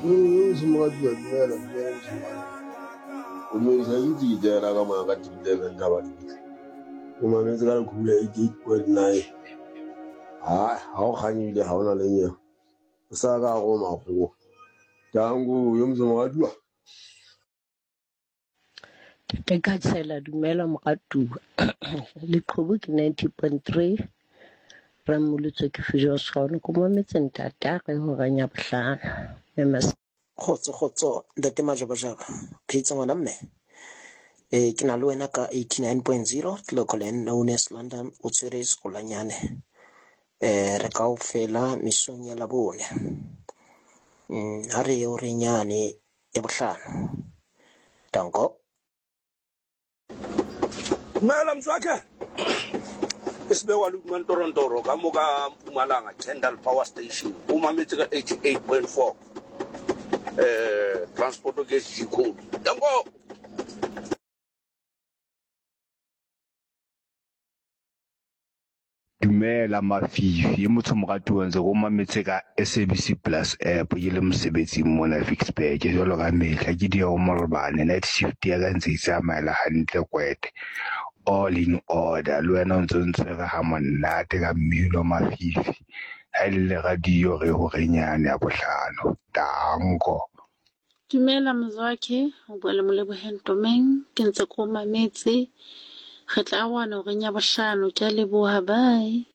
Moratuwa dumela dumela moshemane. O dumedisa ke itse ke kena ka mona ka 11 taba tsohle. O mametse ka leqhubu la 88.9. Ha ha o kganye ebile ha ona le nyewe. O sa ka hare ho makgowa. Tango yo motho moratuwa. Ntate Khatshela dumela moratuwa. Leqhubu ke 90.3 Rammolotswe ke Fusion Ko mametse ntate a re horeng ya bohlano. Mme mas- Kgotso kgotso ntate Majabajaba phetse ngwana mme eh ke na le wena ka 89.0 Clocolan known as London o tshwere sekolanyane eh re kaofela mesong ya labone ha re ye horeng yane ya bohlano danko. Dumela mzwakhe. Isibekwa Lukmantorontoro ka mo ka Mpumalanga Kendal Power Station o mametse ka 88.4 eh transport ke SG code. Danko. Dumela Mafifi, e motsho moratuwa ntse ko mametse ka SABC Plus app ke le mosebetsing mona Ficksburg jwalo ka mehla ke di morobane night shift ya ka ntse e tsamaela hantle kwete all in order le wena o ntse o ntshwere ha monate ka mmino Mafifi ha e le radio re horenyane ya bohlano tanko. Dumela Mzwakhe, o bua le Moleboheng Tomeng, ke ntse ke o mametse. Re tla arohana horeng ya bohlano. Ke a leboha, bye.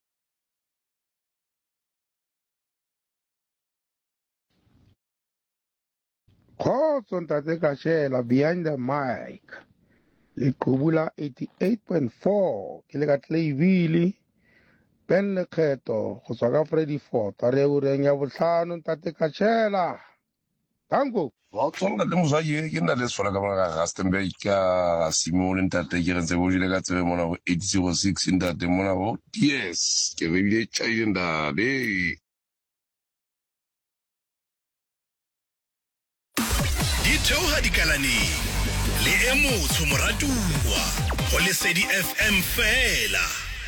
Kgotso ntate Kashela behind the mic. Leqhubu la 88.4 ke le ka Clayville. Ben Lekgetho go tswa ka Freddy Ford a re ureng ya bohlano ntate Kashela. Danko. Kgotso ntate Moswaki, ke ntate Sefolo ka mona ka Rustenburg ka Simone ntate ke re ntse bo jele ka tsebe mona go 806 ntate mona go yes ke re bile tšhaile ntate. Di theoga dikalaneng le e motsho moratuwa go Lesedi FM fela.